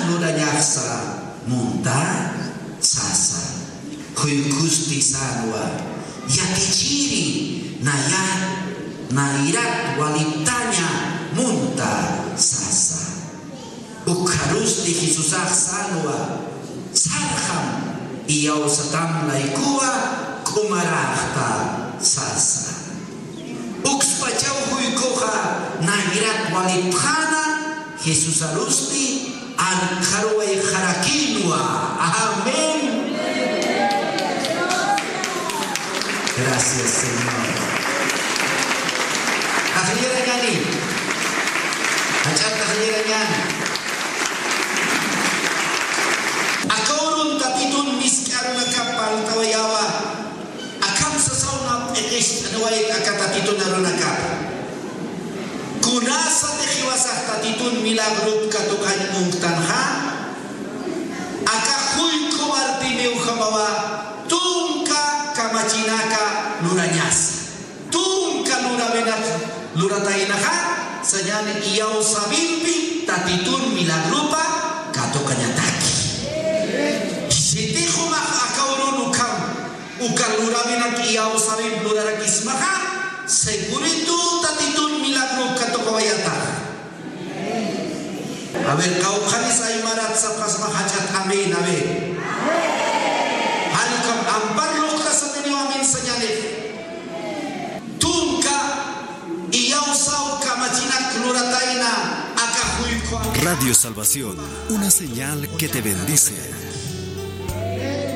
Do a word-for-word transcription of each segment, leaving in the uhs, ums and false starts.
lurañaxsa munta sasa. Juykhusti sänwa, yatichiri, naya, nayrat waliptaña munta sasa. Ukxarusti Jesusax sänwa, sarxam, iyawsatam laykuwa, k'umaräxta sasa. Ukspachaw juykhuxa nayrat walipxäna, Jesusarusti arkxaruwayxarakïnwa. Amén. Gracias, Señor. Taxillirañäni. Jach'a taxillirañäni. Aka urun Tatitun misk'a arunakap parlt'awayäwa. Akham sasaw na p'iqist'aniwayt aka Tatitun arunakap. Kunasatix jiwasax Tatitun milagrup katuqañ munktanxa, aka juykhu Bartimewjamawa tunka kamachinaka lurañasa. Tunka lurawinak lurataynaxa, sañäni iyawsäwimpi Tatitun milagrupa katuqañataki. Sitix jumax aka urun ukham uka lurawinak iyawsäwimp lurarakismaxa, segurito Tatitun milagrup katuqawayata. A ver, qawqhanis aymarat sapxasma jach'at amén, a ver. Jall ukham ampar luqtasatiniw amén sañänix. Tunka iyawsäw kamachinak luratayna aka juykhu. Radio Salvación, una señal que te bendice.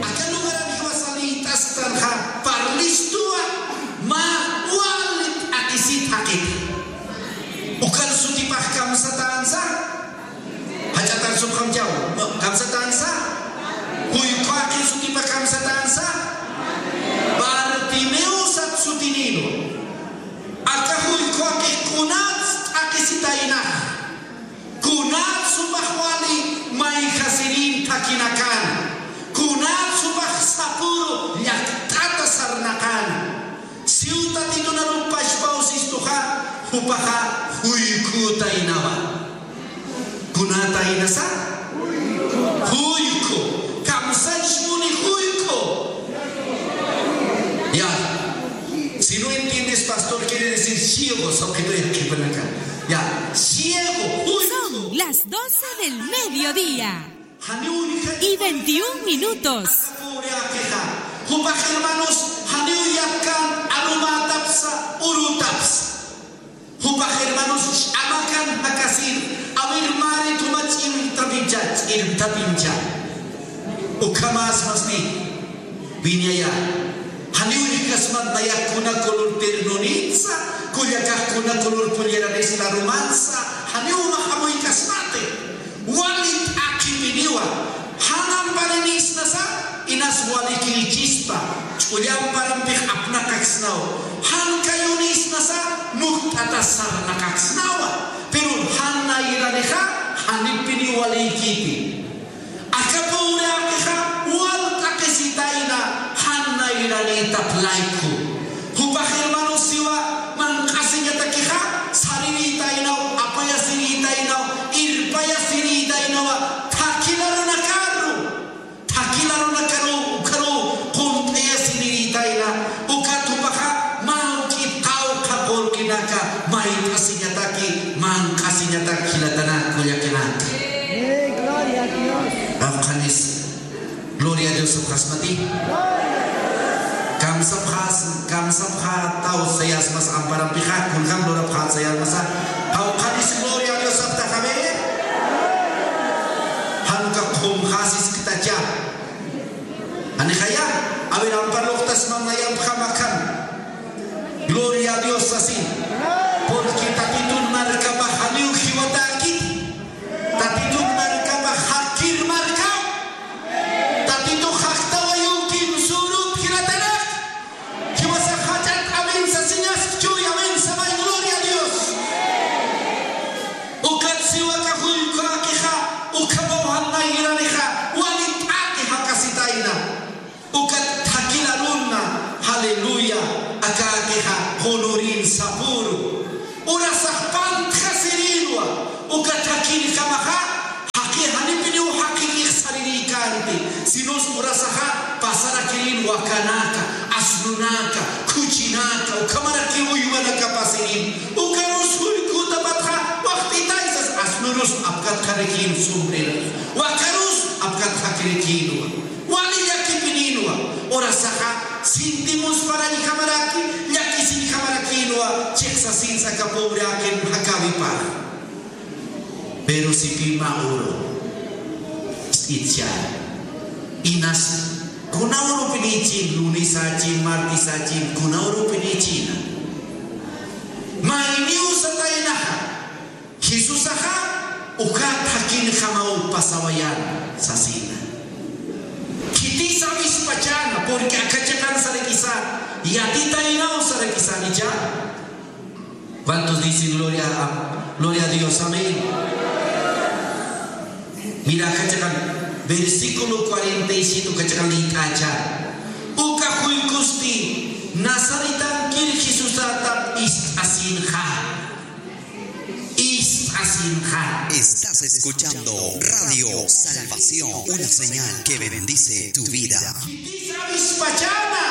Aka lugaran jiwasax liyt'asktanxa, parlistuwa, mä wali t'aqhisit jaqita. Ukan sutipax kamsatänsa, jach'atar sutxamchaw, no, kamsatänsa, juykhu jaqi sutipax kamsatänsa, Bartimeo sat sutinïnwa. Aka juykhu jaqix kunats t'aqhisitaynax. Kunats jupax wali mayjasirin thakinakan. Kunats jupax sapüru llakt'ata sarnaqan. Siw Tatitun arup pachpaw sistuxa, jupaxa juykhütaynawa. Kunatayna sa? Juykhu. Kamsañ muni juykhu. Ya. Si no entiendes, pastor, quiere decir ciego, sapxituya qhipanaka. Ya. Ciego, juykhu. Son las doce del mediodía. Janiw uñjat y veintiún minutos. Aka pobre jaqix. Jupax hermanos, janiw yatkan arumätapsa, urütapsa. Jupax hermanos, ch'amakan jakasir, a ver, mari tuma ch'irtapincha, ch'irtapincha. Ukhamäsmasti, wiñaya. Janiw uñjkasmat nayax kuna color ternonïtsa, kullakax kuna color polleranis larumansa, janiw umax amuykasmati. Wali t'aqhipiniwa, jan amparinïsnasa, inas walikïchispa, ch'ulla amparampix apnaqaksnaw, jan kayunïsnasa, mukt'atas sarnaqaksnawa, pero jan nayranixa, janipiniw walïkiti. Aka pobre jaqix, wal t'aqhisitayna, jan nayranïtap layku. Jupax hermanos siwa, manq'asiñatakixa, sarirïtaynaw, apayasirïtaynaw, irpayasirïtaynawa, thakhi arunakaru, thakhi arunakaru, ukharu, qunt'ayasirïtayna, ukat jupaxa, mä juk'it qawqha qullqinaka, mayt'asiñataki, manq'asiñatak jilatanak, kullakanaka. Amén, gloria a Dios. Qawqhanis. Gloria a Dios sapxasmati. Kamsapxas, kamsapxätaw sayasmas amparampixa, kunjam lurapxät sayasmasa. Qawqhanis gloria a Dios sapxta, a ver. Jan uka qhumxäsisktacha. Janixaya, a ver, ampar lurtasmam nayampxam akham. Gloria a Dios sasi. Porque Tatitun markapax janiw jiwatäkiti. Tatitun markapax jakir markaw. Tatitux jaktawa yukim surut jilatanak. Jiwasax jach'at amén sasiñaskchuy, amén samay, gloria a Dios. Ukat siwa aka jullku jaqixa, ukhamaw jan nayranixa, wali t'aqhi jakasitayna. Ukat thakhi arunna, apkatxarakïn sombrero. Wakarus apkatxakirakïnwa. Wali llakipinïnwa. Urasaxa sintimusparañjamaraki, llakisiñjamarakïnwa, chiqsasins aka pobreakin jakäwipar. Pero sipï mä uru ist'itchäna. Inas kuna urupinïchin, lunesächin, martesächin, kuna urupinïchina. Mayniw sataynaxa, Jesusaxa uka thakhinjamaw pasawayäna sasina. Khitisa awispachäna, porque aka chiqan sarakisa yatitaynaw sarakisanicha. ¿Cuántos dicen gloria a, gloria a Dios? Amén. Mira, aka chiqan, versículo cuarenta y siete, aka chiqan lït'acha. Uka juykusti Nazaretankir Jesusatap ist'asinxa. Ist'asinxa. Estás escuchando Radio Salvación, una señal que bendice tu vida. Khitisa awispachäna,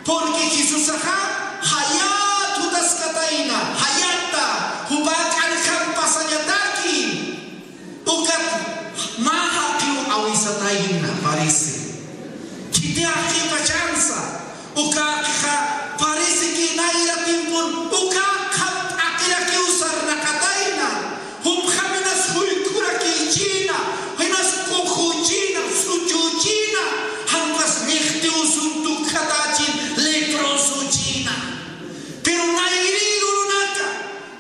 porque Jesusaxa jayat jutaskatayna, jayata, jupa k'anjam pasañataki. Ukat mä jaqiw awisatayna, parece. Khiti jaqipachansa, uka jaqixa parece que nayra tiempon uka qham t'aqirakiw sarnaqatayna, jupjam inas juykurakïchina, inas k'uxüchina, suchüchina, jan ukas lliqtiw usun tukjatächin, leprosüchina. Pero nayri urunaka,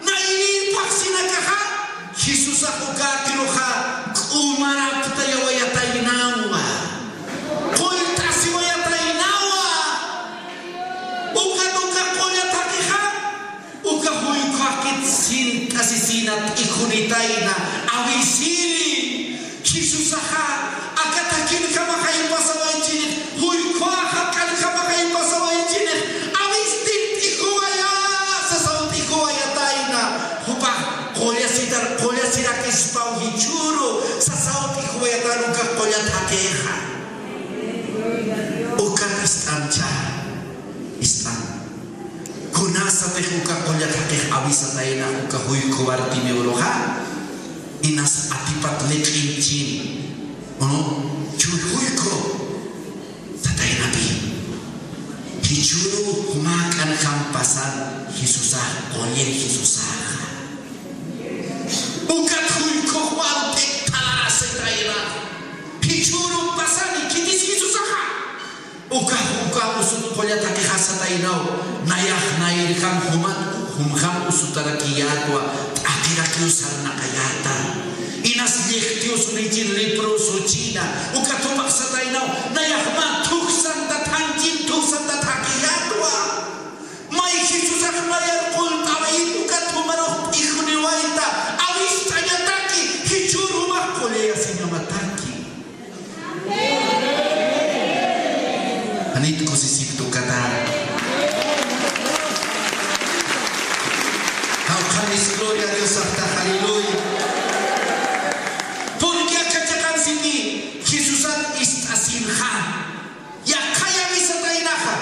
nayri phaxsinakaxa, Jesusax uka jaqiruxa k'umaraptayawayataynawa, qullt'asiwayataynawa. Ukat uka qullat jaqixa, uka juyku jaqit sint'asisina t'ijunitayna, awisiri. Jesusaxa aka thakhinjamaxay pasawaychinix, juykuxa k'anjamaxay pasawaychinix, awistin t'ijuwayä, sasaw t'ijuwayatayna, jupax qullasitar, qullasirakispaw jichhüru, sasaw t'ijuwayatayna uka qullat jaqixa. Ukat ist'amcha, ist'am. Kunasatix uka qullat jaqix awisatayna uka juyku Bartimeuruxa, inas atipat liq'inchin, ¿no? Chuy juyku sataynapi. Jichhüru juma k'anjam pasan Jesusax, qullir Jesusaxa. Ukat juykux walt'it talarasitayna. Jichhüru pasani khitis Jesusaxa. Uka, uka usut qullat jaqixa sataynaw, nayax nayrjam jumat, jumjam usutarakiyätwa, t'aqirakiw sarnaqayäta. Inas lliqtiw usunïchin leprosüchina, ukat jupax sataynaw, nayax mä thuksanta thanchin, thuksanta thaqiyätwa. May Jesusax mayar qullt'awayit, ukat jumarux p'ijuniwayta, awistañataki, jichhür jumax qullayasiñamataki. Janit kusisipta ukata. Jawqhanis gloria a Dios aptax, aleluya. Porque aka chiqan siti Jesusat ist'asinxa. Yaqha awisataynaxa.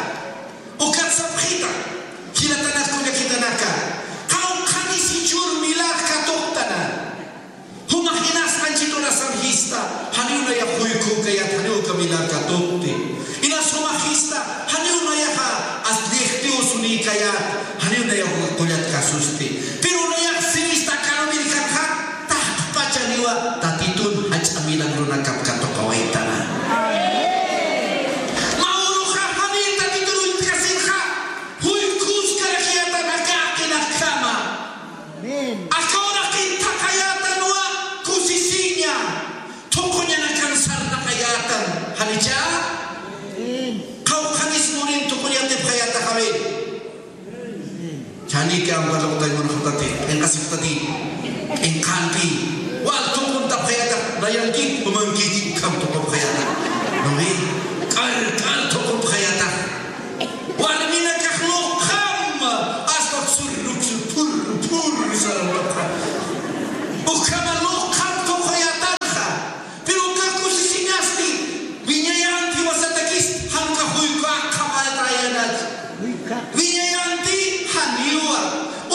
Ukat sapxita. Jilatanak kullakitanaka. Jawqhanis jichhür milagr katuqtana. Jumax inas anchit urasam jista, janiw nayax juykükayät, janiw uka milagr katuqti. Inas jumax jista, janiw nayaxa as lliqtiw usunïkayät, janiw nayax uka qullat kasusti. Pero nayax sirista kanumirkanxa, taqpachaniwa Tatitun jach'a milagrunakap katuqawaytana. Mä uruxa janiw Tatitun uñt'kasinxa, juyküskarakiyätan aka jaqinakjama. Amén. Aka uraqin thaqhayätanwa kusisiña, thuquñanakan sarnaqayätan. ¿Janicha? Amén. Qawqhanis murin thuquñatipxayätax, amén. Amén. Chanikan waluqtay munxtati, q'inqasipxtati, q'inqanpi, wal thuquntapxayätax, nayankit, umankit, ukham thuqupxayätax. ¿No ve? K'al, k'al thuqupxayätax. Warminakax luqham, hasta sur, sur, pur, pur, sarantaqa. Ukhama luqham thuquyätanxa. Pero uka kusisiñasti, wiñayanti wasatakist, jan uka juyku aqhamayatayänat. Wiñayanti, janiwa.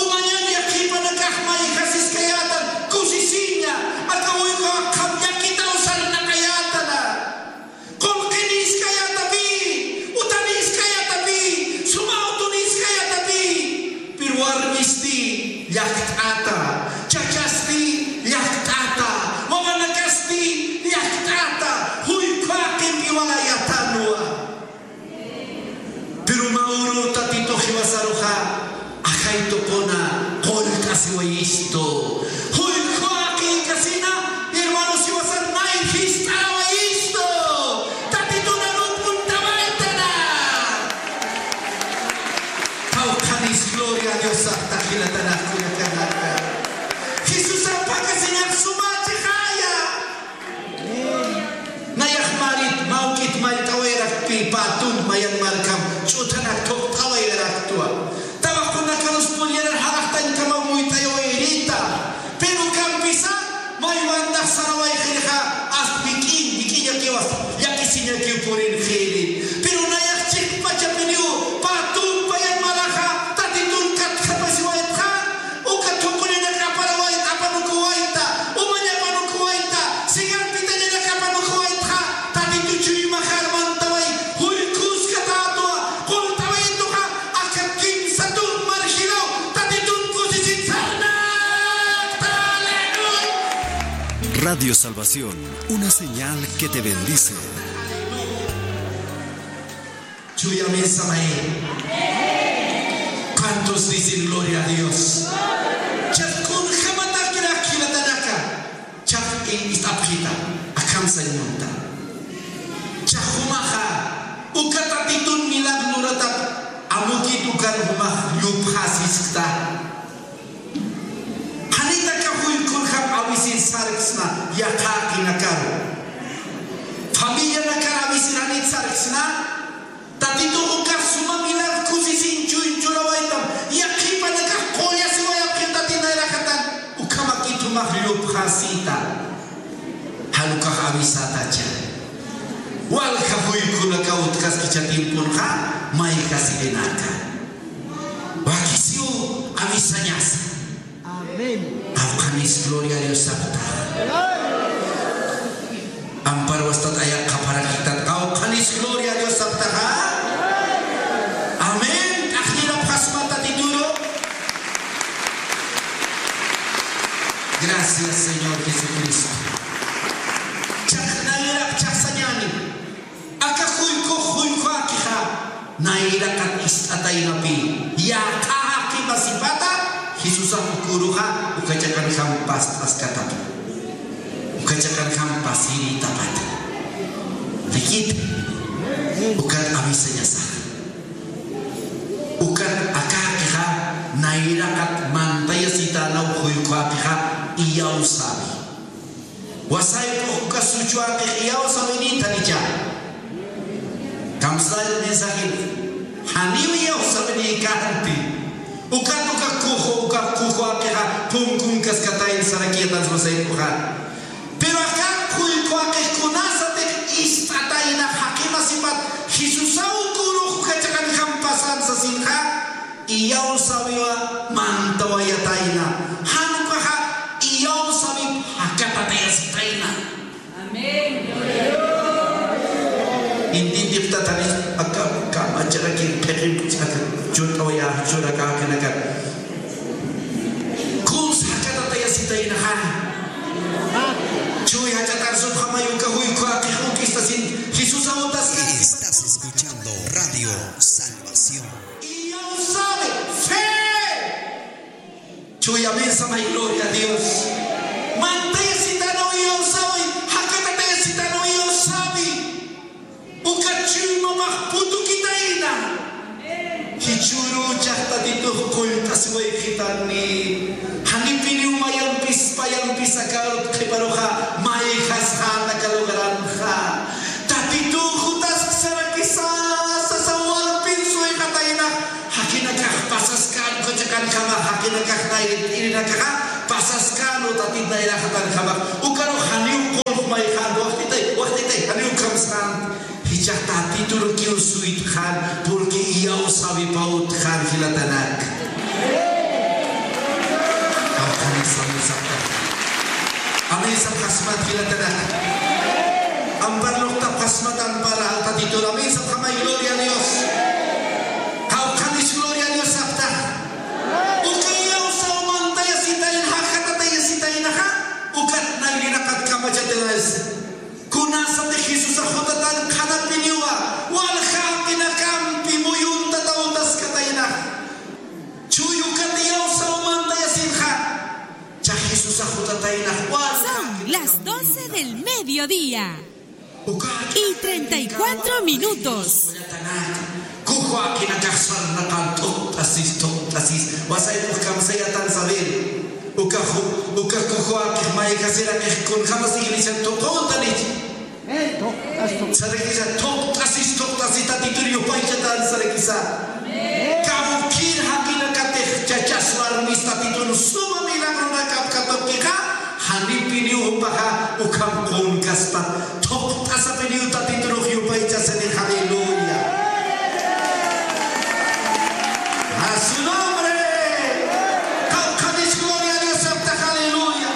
Umañan yaqhipanakax mayjasiskayätan, kusisiña. sarawayxirixa, ast jik'iñ, jik'iñakiw, ast llakisiñakiw purinxiri. Pero nayax chiqpachapiniw, pä tumpayan malaxa, Tatitun katjapasiwaytxa, uka thuqhurinak aparawayta, apanukuwayta, umañ apanukuwayta, sigan pitañanak apanukuwaytxa, Tatitu chuymaxar mantaway, juykuskatätwa, qullt'awaytuxa, aka kimsa tun marjinaw, Tatitun kusisitsarnakta, aleluya. Radio Salvación, una señal que te bendice. Chuya amén samay. ¿Cuántos dicen gloria a Dios? Chaq kunjamatakrak jilatanaka. Chaq ist'apxita. Akham sañ munta. Chaq jumaxa. Uka Tatitun milagro luratak. Amukit ukar jumax llupxasiskta. Janit aka juykurjam a veces sarksna, yaqhaqinakaru. Familianakar a veces janit sarksna, Tatitux uka suma milagro kusisiñ chuy churawaytam, yaqhipanakax qullasiwayapxi Tatit nayraqatan, ukhamakit jumax llupxasita. Jan ukax avisatacha. Walja juykunakaw utjaskicha tiemponxa, mayjasirinaka. Wakisiw avisañasa. Amén. Qawqhanis gloria a Dios saptax. Ampar wastat ayaq qhaparakitat. Qawqhanis gloria a Dios saptaxa. Amén. T'aqllirapxasma Tatituru. Gracias, Señor Jesucristo. Chaqnayaraq chaqsañani. Aka juykux juykuwakixa, nayraqat ist'ataynapi, yaqha jaqi masipata, Jesusax uküruxa, uka chiqanjam past'askatapxi. Uka chiqanjam pasirïtapata. Rikit, ukat avisañasax. Ukat akakixa, nayraqat mantayasitänaw juykuwakixa, iyawsawi. Wasaypux uka suchwaqix iyawsawinïtanicha. Kamsay mensaje. Janiw iyawsawinïkänti. Ukat uka kuju, uka kujuwakixa punkunkaskatayna sarakiyätansa wasaypuxa. Pero aka juykuwaqix kunasatix ist'atayna jaqi masipat Jesusaw ukürux uka chiqanjam pasan sasinxa. Iyawsawiwa mantawayatayna. Jan ukaxa iyawsawip jakatatayasitayna. Amén. Intintiptatanis aka kamacharakin p'iqin aka churt'awaya churakäkanakan. Kuns jakatatayasitaynaxa. Chuy jach'atar supxamay uka juykuwaqix uk istasin Jesusaw utaskas. Estás escuchando Radio Salvación. Iyawsawi, fe. Chuya amén samay, gloria a Dios. Mantayasitanaw iyawsawi, jakatatayasitanaw iyawsawi. Uka chuymapax putukitayna. Jichhüruw chaqtatitux qullt'asiwayxitanni. Janipiniw mayampis, payampis aka arut qhiparuxa, mayjasxän aka lugaranxa. Tatitux jutasksaraki sasa, sasa walpin suyxatayna. Jaqinakax pasaskän, uka chiqanjamax, jaqinakax nayri t'irinakaxa pasaskän, Tatit nayraqatanjamax. Ukarux janiw qullq mayxän, wajtitay, wajtitay, janiw kamsxän. Jichhax Tatiturukiw suytxän, porque iyawsawipaw utjän jilatanak. Amén, amén, sapxasma. Amén, sapxasmat jilatanak. Ampar luqtapxasmat, ampar Tatitur. Amén, sapxamay, gloria a Dios. Qawqhanis gloria a Dios sapxta. Uka iyawsaw mantayasitayna, jakatatayasitaynaxa, ukat nayraqat kamachatiraysa. Kunasatix Jesusax jutatan qhanapiniwa, walja jaqinakampi muyuntataw utaskataynax. Chuy ukat iyawsaw mantayasinxa. Cha Jesusax jutataynax walja. Son las doce del mediodía y treinta y cuatro minutos. Kujuwaqinakax sarnaqan tuqt'asis, tuqt'asis. Wasaypux kamsayatan saber. Uka ju-, uka kujuwaqix mayjasiraqix kunjamas iglesian tuquntanich. Sarakisa tuqt'asis, tuqt'asis Tatitur yupaychatan sarakisa. Kawkïr jaqinakatix chachas warmis Tatitun suma milagronakap katuqixa, janipiniw Jupaxa ukham qunkaspa, thuqt'asapiniw Tatiturux yupaychasini, aleluya. A su nombre. Qawqhanis gloria a Dios saptax, aleluya.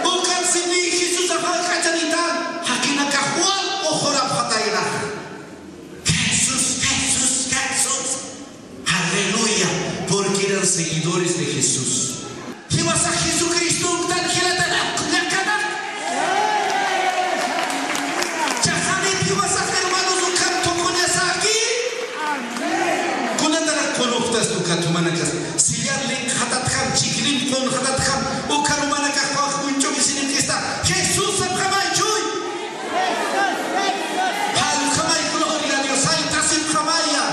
Ukat simi Jesusax jallk'achanitan, jakinakax wal uxurapxataynax. Jesús, Jesús, Jesús. Aleluya, porque eran seguidores de Jesús. Jiwasax Jesucristo uktan jilatanak, llaqtanak. Chaxanit jiwasax hermanos ukan tukuñasaki. Kunatarak kunuxtas ukat jumanakas. Sillar linkxatatjam, chiklim qunxatatjam, ukan jumanakax qawaq uñch'ukisininkista. Jesús sapxamay chuy. Jallq'amay, gloria a Dios, jallt'asipxamaya.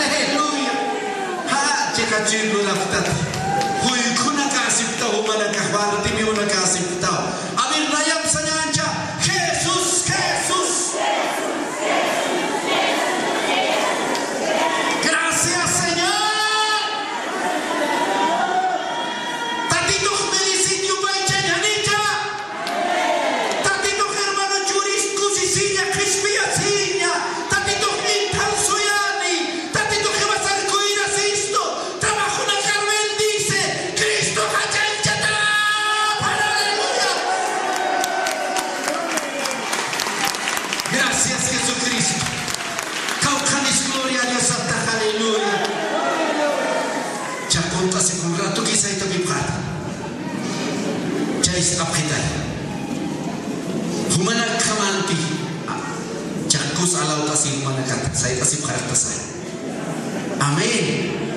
Aleluya. Ja, chiqa chuy lurapxtat. Juykhunak aceptaw, jumanak, Bartimiunak aceptaw. A ver, nayap sañancha. Jesús, Jesús. Gracias, Señor. Tatitux meresit yupaychañanicha. Tatitux hermano churis kusisiña, qhispiyasiña. Tatitux inthan suyani. Tatitux jiwasar cuidasistu. Trabajonakar bendice. Cristo jachanchata. Aleluya. Gracias, Jesucristo. Qawqhanis gloria a Dios saptax, aleluya. Chaqunt'asikun ratuki saytapipxata. Chaysapxitay. Jumanakjamanti. Chakus alawt'asi jumanakat. Sayt'asipxartasa. Amén.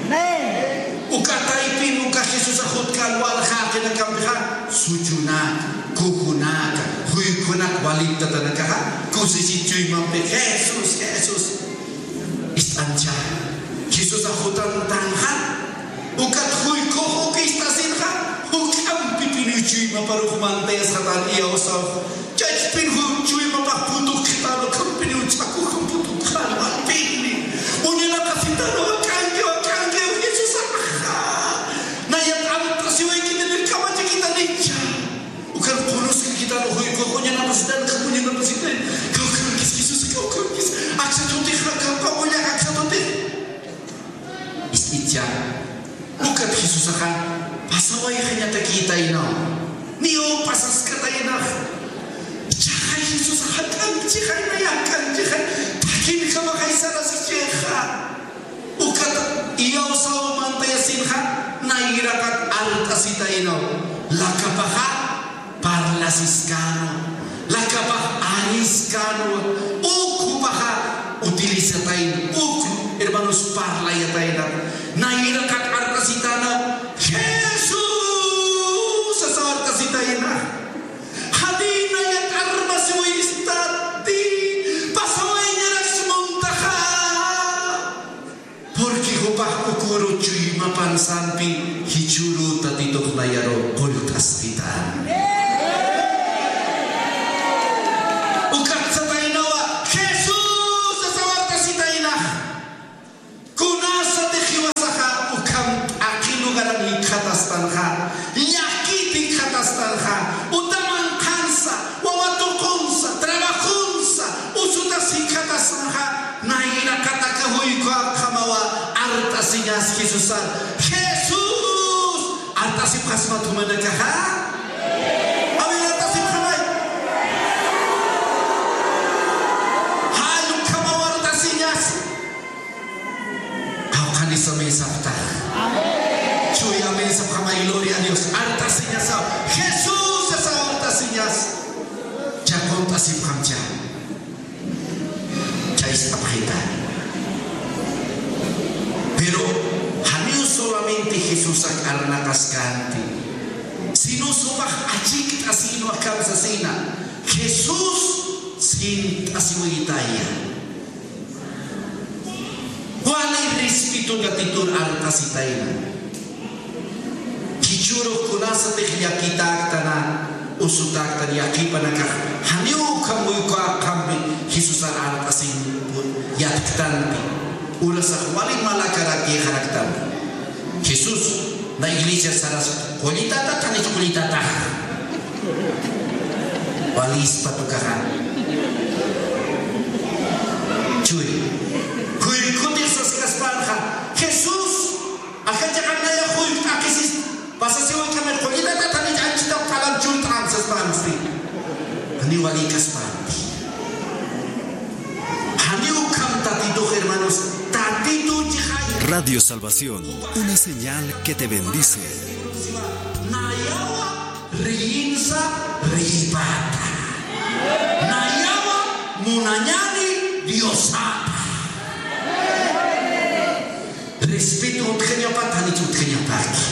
Amén. Uka taypin, uka Jesusax jutkän walja jaqinakampixa, suchunaka, kujunaka, juykhunak waliptatanakaxa, kusisit chuymampi, Jesús, Jesús. Ist'ancha, Jesusax jutantanxa, ukat juykux uk ist'asinxa, juk'ampipiniw chuymaparux mantayasxatan iyawsaw. Chachpin jun chuymapax putukxtan, ukhampiniw ch'akuxan putukxan, walpini. Uñanapasitan, wak'anki, wak'anki, Jesusaxa. Nayat art'asiwaykitan, kamachakitanicha. Ukan qunuskakitanu juykux, uñanapasitan, uñanapasitan. Kawkhankis, Jesús, kawkhankis. Aksa tutix, kawkhankis, aksa tutix. Ist'icha, ukat Jesusaxa pasawayxañatakïtaynaw, niyu pasaskataynax. Ichaxa Jesusaxa k'anchixay, nayat k'anchixay, takinkamaxay saraskichixa. Ukat iyawsaw mantayasinxa, nayraqat art'asitaynaw, lakapaxa parlasiskäna, lakapax ariskäna, uk jupaxa utilizatayna, uk hermanos parlayatayna, nayraqat art'asitäna, Jesús sasaw art'asitayna, janïnayat armasiwistati, pasawayñarakis muntaxa. Porque jupax uküru chuymapan sampi, jichhüru Tatitux nayaru qullt'askita. Ukat sataynawa, Jesús sasaw art'asitaynax. Kunasatix jiwasaxa ukham t'aqhi lugaran jikxatastanxa, llakit jikxatastanxa, uta manqhansa, wawa tuqunsa, trabajonsa, usutas jikxatastanxa, nayraqat aka juyku aqhamawa art'asiñas Jesusar. Jesús art'asipxasmat jumanakaxa. A ver, art'asipxamay. Jall ukhamaw art'asiñas. Qawqhanis amén sapxtax. Chuy amén sapxamay, gloria a Dios. Art'asiñasaw. Jesús sasaw art'asiñas. Chaqunt'asipxamcha. Chaysapxita. Pero janiw solamente Jesusak arnaqaskänti, sino jupax achikt'asïnwa, kamsasïna. Jesús sint'asiwaytaya. Wali respeto Tatitur art'asitayna. Jichhürux kunasatix llakitäktana, usutäktana, yaqhipanakax janiw ukham juyku aqhampi Jesusar art'asin yatktanti. Urasax wali malakarakïxaraktam. Jesús, na iglesia saras, qullitata, qhanich qullitata. Walispa tukaxa. Chuy. Juykutix saskaspänxa. Jesús, akachaxa nayax juyku t'aqhisis. Pasasiwaykamir qullitata, qhanich anchhitaw q'alam churt'am saspänsti. Janiw walïkaspänti. Janiw ukham Tatitux, hermanos, Tatitu chixay. Radio Salvación, una señal que te bendice. Nayawa reyinsa reyipata. Nayawa munañani Diosata. Respeto utjañapat, janich utjañapaki.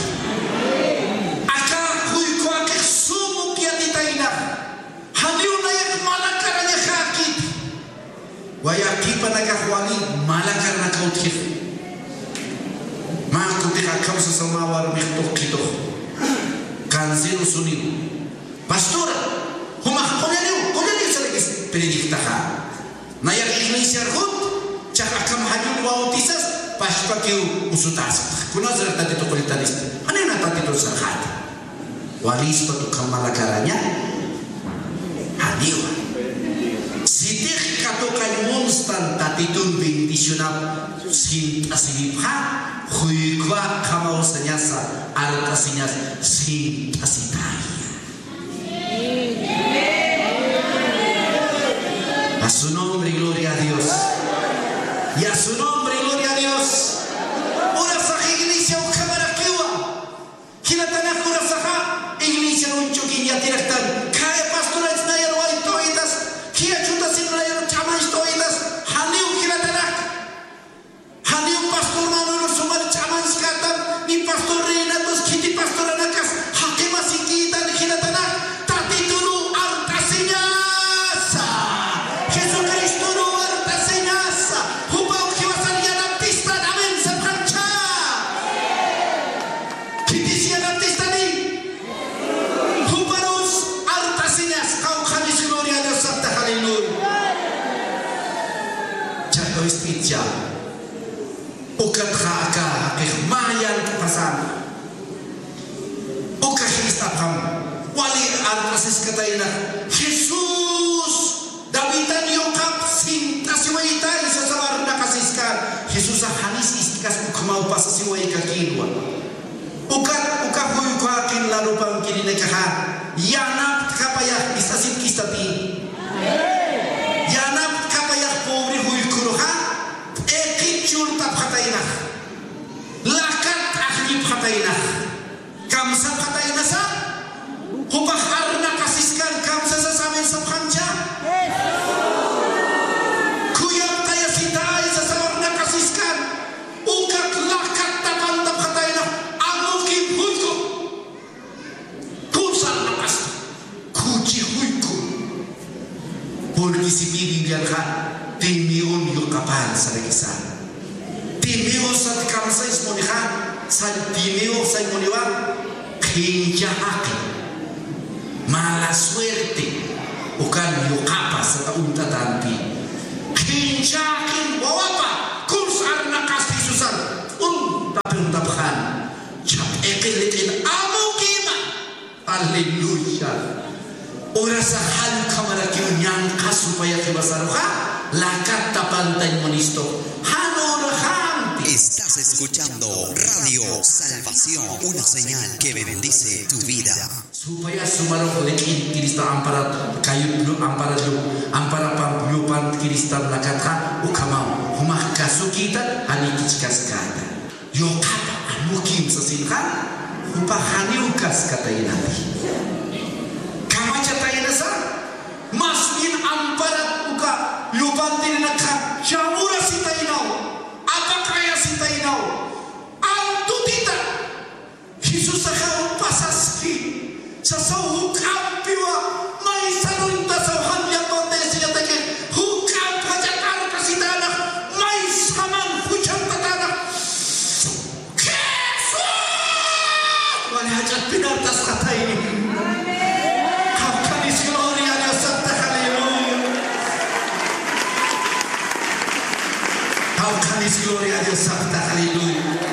Aka juykuwakix sum upiatitayna. Janiw nayax malakarañaxäkit. Wayaqipanakax wali malakarnaka utjix. Mä kutix akham sasaw mä warmix tuqitux. Cáncer usuniw. Pastora, jumax qullaniw, qullaniw sarakis predictaxa. Nayax iglesiar jut, chax akham jallun bautizas, pachpakiw usutäspa. Kunasar Tatitu qullitanisti. Janina Tatitun sarxäti. Walispa ukham malakaraña. Janiwa. Sitix katuqañ munstan Tatitun bendicionap sint'asiripxa, juykuwa qhamaw sañasa, art'asiñas sint'asitaya. A su nombre, gloria a Dios. Y a su nombre, gloria a Dios. Urasax iglesia ukhamarakiwa. Jilatanak urasaxa, iglesia uñchukiñ yatiraktan. Khaya pastorach nayar wayt'uwitas, khaya chutasin nayar ch'amancht'uwitas, janiw jilatanak. Janiw pastor Manuel sumar ch'amanchkätan, ni pastor Renatos, khiti pastoranakas, jaqimasikïtan jilatanak, Tatitunu art'asiñasa, Jesucristunu art'asiñasa, jupaw jiwasan yanaptistan, amén, sapxamcha. Khitis yanaptistani. Juparus art'asiñas, qawqhanis gloria a Dios sapta, aleluya. Chaqawist'icha. Ukatxa aka jaqix mä yant'pasana. Ukax ist'apxam. Wali art'asiskatayna. Jesús, Davidan yuqap sint'asiwaytay sasaw arnaqasiskan. Jesusax janis ist'kas ukhamaw pasasiwaykakïnwa. Ukat, uka juykhuwaqin larupankirinakaxa, yanaptkapayax ist'asitkistati. Yanaptkapayax pobre juykhuruxa, p'iqit churtapxataynax. Lakat t'aqllipxataynax. Kamsapxataynasa, jupax arnaqasiskan kamsasas amén sapxamcha. Khuyaptayasitay sasaw arnaqasiskan. Ukat lakat tapantapxatayna, amukim juyku. Kusa arnaqas, khuchi juyku. Porque si Biblianxa Timeon yuqapan sarakisa. Timeo sat kamsañ munixa, sat Timeo sañ muniwa, qhincha jaqin. Mala suerte. Ukan yuqapa sata uñt'atanti. Qhincha jaqin wawapa, kusa arnaqasti Jesusan. Uñt'apxan. Chap'iqi liq'in amukima. Aleluya. Urasax jan ukhamarakiw ñanqha supaya jiwasaruxa, lakat tapantañ munistu. Jan uraxampi. Estás escuchando Radio Salvación, una señal que bendice tu vida. Supaya sumarux liq'in Cristo amparat, kayut lu amparat lu, amparapam llupan Cristo lakatxa, ukhamaw, jumax kasukïta, janikichkaskata. Yuqapa amukim sasinxa, jupax janiw kaskataynati. Kamachataynasa, más bien amparat uka llupantirinakxa, chamurasitaynaw, apaqayasitaynaw, antutita. Jesusaxaw pasaski, sasaw juk'ampiwa, maysaruñtasaw jan llapan tayasiñataki, juk'amp jach'a t'arkasitanax, maysaman juchantatanax. Jesús! Wali jach'at pinartasqatayni. Qawqhanis gloria a Dios saptax, aleluya. Jawqhanis gloria a Dios sapxtax, aleluya.